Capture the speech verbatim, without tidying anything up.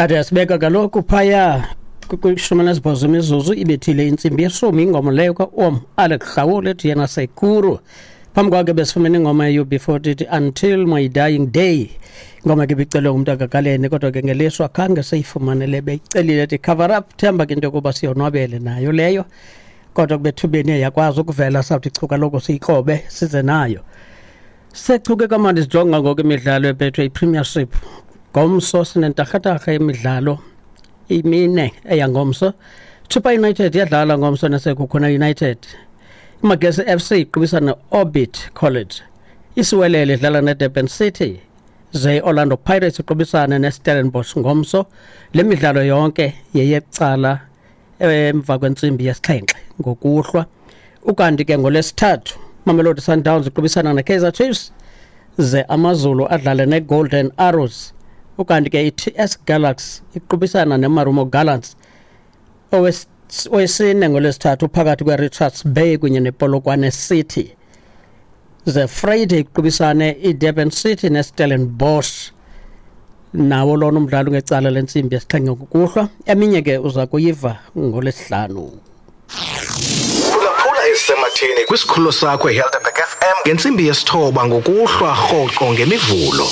Sithathe yasibeka kaloku phaya kwishumi elinesibhozo imizuzu ibethile intsimbi yeshumi, ingoma leyo ka-Om Alex Hlawule ethi yena Sekuru. Phambi kwakhe besifumene ingoma ye-U B forty ethi Until My Dying Day, ingoma ke ibicelwe ngumntu akakalene, kodwa ke ngelishwa khange seyifumane le beyicelile ethi Cover Up. Themba ke into yokuba siyonwabele nayo leyo, kodwa kubethubeni yakwazi ukuvela sawuthi chu kaloku siyikrobe size nayo. Sechuke kamandi sijonga ngoku imidlalo eBetway Premiership. Ngomso sinentarhatarha yemidlalo imine eyangomso. Chippa United iyadlala ngomso neSekhukhune United. IMagesi F C iqubisana ne-Orbit College. Isiwelele idlala neDurban City. Ze Orlando Pirates iqubisana neStellenbosch ngomso. Le midlalo yonke yeyecala emva kwentsimbi yesixhenxe ngokuhlwa. Ukanti ke ngolwesithathu Mamelodi Sundowns iqubisana neKaizer Chiefs, ze AmaZulu adlale neGolden Arrows. Ukanti ke i-T S Galaxy iqubisana neMarumo Gallants. Owesine ngolwesithathu phakathi kwe-Richards Bay kunye nePolokwane City. Ze Friday iqubisane i-Durban City neStellenbosch. Nawo lona umdlalo ngecala lentsimbi yesixhenxe ngokuhlwa. Eminye ke uza kuyiva ngolwesihlanu. Phulaphula esematheni kwisikhululo sakho eHelderberg F M ngentsimbi yesithoba ngokuhlwa rhoqo ngemivulo.